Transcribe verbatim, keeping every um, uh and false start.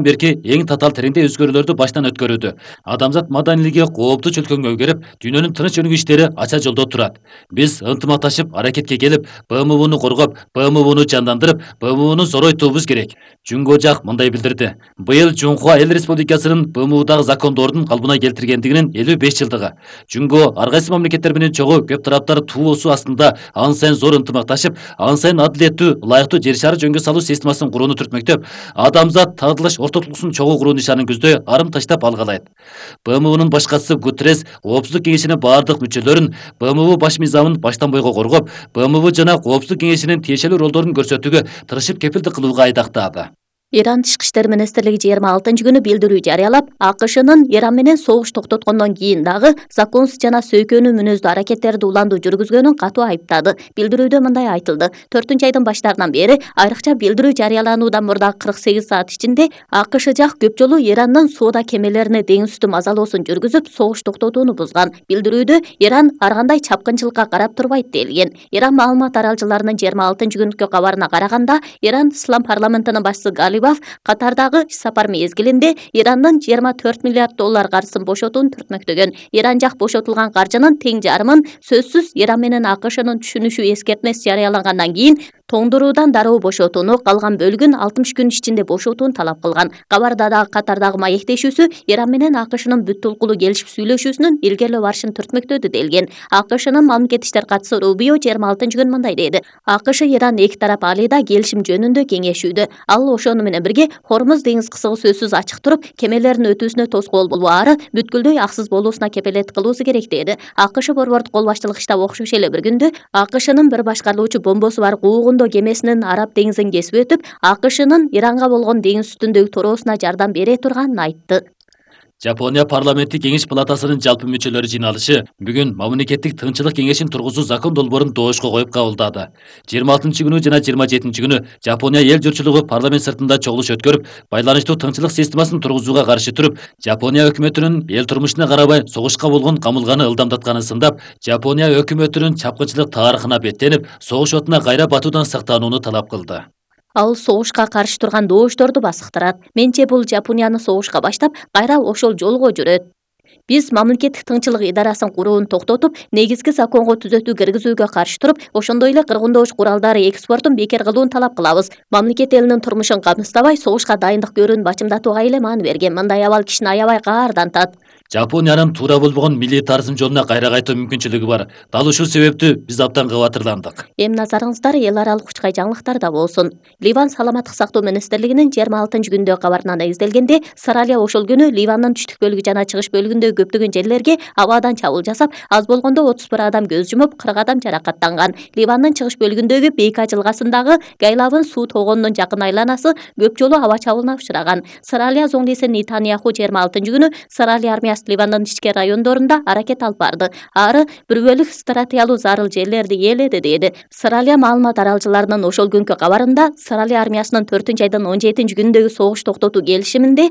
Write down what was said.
берки эң татаал тереңдей өзгөрүүлөрдү баштан өткөрүүдө. Адамзат маданилиги кооптуу чөлкөңгө өгөрүп, дүйнөнүн тыныч өнүгүү иштери ача жолдо турат. Биз ынтымакташып аракетке келип, Б М Уну коргоп, Б М Уну жандандырып, Б М Уну зоройтуубуз керек. Жунго жак мындай билдирди. Быйыл Жунхуа Эл Республикасынын Б М Удагы закондордун калыбына келтиргендигинин элүү беш жылдыгы. Жунго ар кайсы мамлекеттер менен чогуу көп тараптар туусу астында ан сайын зор ынтымакташып, ан сайын адилеттүү, ылайыктуу жер шары жөнгө салуу системасын курууну түртмөктөп, адамзат тагдылаш ортодулуксун чогуу куруу нишанын көздөй арым таштап алгалайт. Б М Унун башкачысы Гутеррес Коопсуздук кеңешинин бардык мүчөлөрүн Б М У баш мыйзамын баштан бойго коргоп, Б М У жана Коопсуздук кеңешинин тиешелүү ролдорун көрсөтүүгө тырышып кепилдик кылууга айдактады. Иран Тышкы иштер министрлиги жыйырма алтынчы күнү билдирүү жарыялап, А К Шнын Иран менен согуш токтоткондон кийин дагы законсуз жана сөйкөнүү мүнөздүү аракеттерди уланду жүргүзгөнүн катуу айыптады. Билдирүүдө мындай айтылды: төртүнчү айдын баштарынан бери, айрыкча билдирүү жарыялануудан мурдагы кырк сегиз саат ичинде А К Ш жак көп жолу Ирандын соода кемелерине деңиз үстү мазалоосун жүргүзүп, согуш токтотууну бузган. Билдирүүдө Иран ар кандай чапкынчылыкка карап турбайт делген. Иран маалымат аралчыларынын жыйырма алтынчы күнкү кабарына караганда, Иран Ислам парламентинин башчысы Галибаф Катардагы иш сапар мезгилинде Ирандын жыйырма төрт миллиард доллар каржысын бошотууну түртмөктөгөн. Иран жак бошотулган каржынын тең жарымын сөзсүз Иран менен А К Шнын түшүнүшүү эскертмеси жарыялагандан кийин тоңдуруудан дароо бошотууну, калган бөлүгүн алтымыш күн ичинде бошотууну талап кылган. Кабарда дагы Катардагы маектешүүсү Иран менен А К Шнын бүт толкулуу келишип сүйлөшүүсүнүн илгерилөө барышын түртмөктөдү делген. А К Шнын мамлекет иштер катчысы Рубио жыйырма алтынчы күнү мындай деди: А К Ш Иран эки тарап алыйда келишим жөнүндө кеңешүүдө. Ал ошону менен бирге Хормуз деңиз кысыгы сөзсүз ачык туруп, кемелердин өтүүсүнө тоскоол болбаары, бүткүлдөй аксыз болуусуна кепелет кылуусу керек деди. А К Ш борбордук кол башчылык штабы окшош эле бир күндө А К Шнын бир башкарылуучу бомбосу бар куугундоо кемесинин Араб деңизин кесип өтүп, А К Шнын Иранга болгон деңиз үстүндөгү тороосуна жардам бере турганын айтты. Жапония парламенттик кеңеш палатасынын жалпы мүчөлөрү жыйналышы бүгүн мамлекеттик тынччылык кеңешин тургузуу закон долбоорун доошко коюп кабылдады. жыйырма алтынчы күнү жана жыйырма жетинчи күнү Жапония эл журтчулугу парламент сыртында чогулуш өткөрүп, байланыштуу тынччылык системасын тургузууга каршы туруп, Жапония өкмөтүнүн эл турмушуна карабай согушка болгон камылганы ылдамдатканын сындап, Жапония өкмөтүнүн чапкынчылык тарыхына беттенип, согуш отуна кайра батуудан сактанууну талап кылды. Ал согушка каршы турган доошторду басыктырат. Менче бул Жапонияны согушка баштап, кайра ошол жолго жүрөт. Биз мамлекеттик тынччылык идарасын курууну токтотуп, негизги законго түзөтүү киргизүүгө каршы туруп, ошондой эле кыргындооч куралдары экспортун бекер кылууну талап кылабыз. Мамлекет элинин турмушун камсыздабай, согушка дайындык көрүүнү бачымдатууга эле маани берген. Мындай абал кишини аябай каардантат. Жапониянын туура болбогон милитаризм жолуна кайра кайтуу мүмкүнчүлүгү бар. Дал ушул себептүү биз абдан кабатырландык. Эми назарыңыздар эл аралык учкай жаңылыктарда болсун. Ливан саламаттык сактоо министрлигинин жыйырма алтынчы күндөгү кабарына негизделгенде, Саралия ошол күнү Ливандын түштүк бөлүгү жана чыгыш бөлүгүндөгү көптөгөн жерлерге абадан чабуул жасап, аз болгондо отуз бир адам көз жумуп, кырк адам жаракаттанган. Ливандын чыгыш бөлүгүндөгү Бейка жылгасындагы Гайлавын суу тогонунун жакын айланасы көп жолу аба чабуулуна учураган. Саралия зоңдиси Нетаньяху жыйырма алтынчы күнү Саралия армиясы Ливандын ички райондорунда аракет алып барды. Ары бир бөлүк стратегиялуу зарыл жерлерди ээледи деди. Саралия маалымат аралчыларынын ошол күнкү кабарында Саралия армиясынын төртүнчү айдын он жетинчи күнүндөгү согуш токтотуу келишиминде